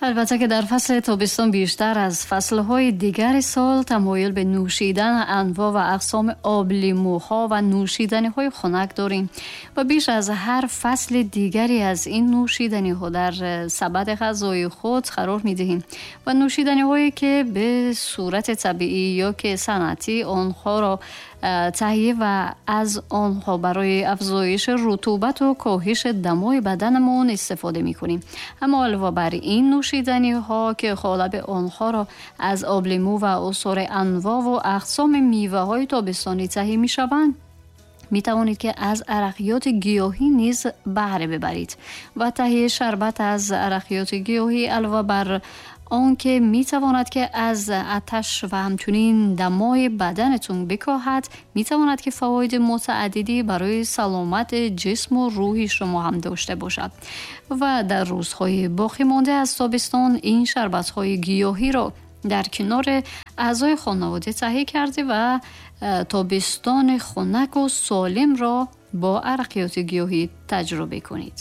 Албатта ки дар фасли тобистон бештар аз фаслҳои дигари сол тамоюл ба нӯшидани анвоъ ва ақсоми облимӯҳо ва нӯшиданиҳои хунак дорем ва беш аз ҳар фасли дигаре аз ин нӯшиданиҳо дар сабади ғазои худ қарор медиҳем ва нӯшиданиҳое ки ба сурати табиӣ ё ки санъатӣ онҳоро таҳия ва аз онҳо барои афзоиши рутубату коҳиши дамои баданамон истифода мекунем. Аммо илова бар ин нӯшиданиҳо ки ғолаби онҳоро аз облимӯ ва усори анвоъу ақсоми меваҳои тобистонӣ таҳия мешаванд, метавонед ки аз арақиёти гиёҳӣ низ баҳре бибаред ва таҳияи шарбат аз арақиёти гиёҳӣ илова бар он ки метавонад ки аз аташ ва ҳамчунин дамои баданатон бикоҳад, метавонад ки фавоиди мутааддидӣ барои саломати ҷисму рӯҳи шумо ҳам дошта бошад. Ва дар рӯзҳои боқӣ монда аз тобистон ин шарбатҳои гиёҳиро дар канори аъзои хонавода таҳия карда ва тобистони хунак ва солимро бо арақиёти гиёҳӣ таҷриба кунед.